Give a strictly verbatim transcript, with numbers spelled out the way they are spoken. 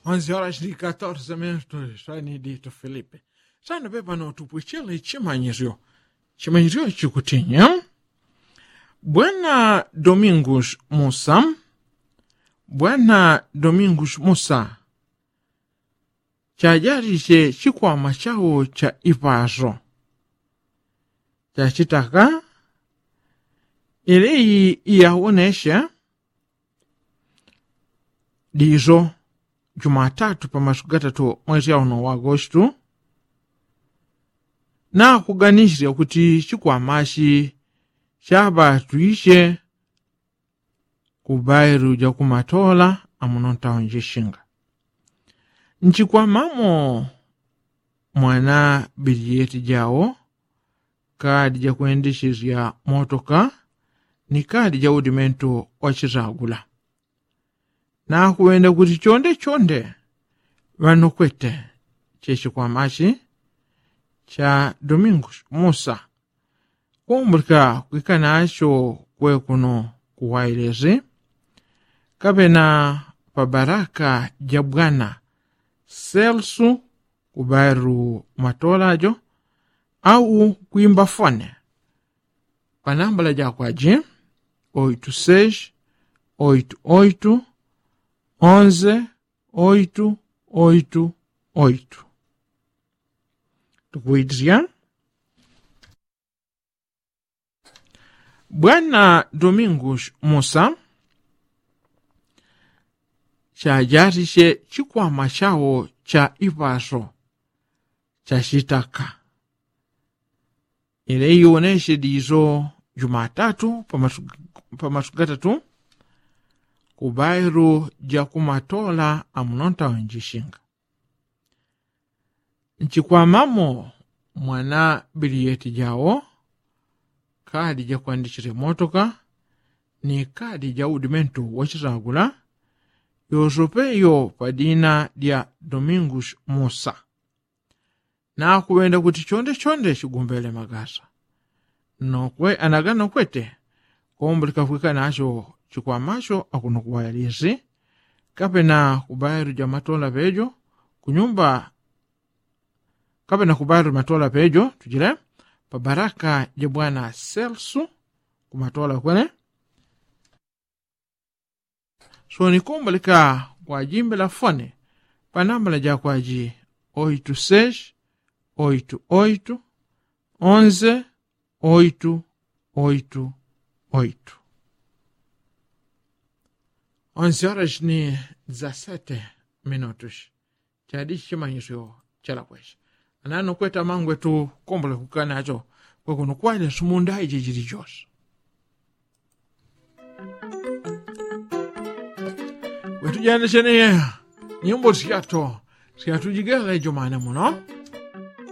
Onzi horas ndi katorze minutu. Sani ditu filipe. Sani pepano tupwichele chimanyisyo. Chimanyisyo chikutinya. Bwana domingus musa. Bwana domingus musa. Chajali che chikwama chawo cha ipaso. Chachitaka. Ili iyawoneshe diso jumatatu pamasu gatatu mwesi auno wa agostu. Nakuganisisya kuti chikwamashi chabatwisye kubailu jakumatola amuno ntaunjishinga. Nchikwamamo mwana biliyeti jawo kadi jakwendesesya motoka ni kadi jaudimentu wachitagula. Nakuwenda kuti chonde chonde ŵanokwete chechikwamachi cha domingo musa. Kumbulika kwikanacho kwekuno kuwailesi kapena pabaraka ja bwana selsu kubailu matolajo au kwimba fone panambala jakwaji oitu seis oitu oitu onze oitu oitu oitu. Tukuitisya. Bwana domingus musa chajatisye chikwama chawo cha ipaso chachitaka. Ile iwonesye diso jumatatu pamasu gatatu kubailu jakumatola amuno ntaunjishinga. Nchikwamamo mwana biliyeti jawo kadi jakwandichile motoka ni kadi jaudimentu wachitagula yosope iyo padina dya domingus musa. Nakuŵenda kuti chonde chonde chigumbele magasa nokwe anaganokwete. Kombulika kwikanacho chikwamacho akuno kuwayalisi kapena kubailu jamatola pejo kunyumba kapena kubailu matola pejo tujile pabaraka ja bwana selsu kumatola kwene. So nikumbalika kwajimbila fone panambala jakwaji oitu seis oitu oitu onze oitu oitu oitu. Onzi horas ni dezasete minutus. Chadi chimanyisyo chalakwesha anano kweta mangwe tukombola kukanacho kwekuno kwaine sumunda iji jili jose. Wetujandisye ni nyimbo syato syatujigela ijomane muno.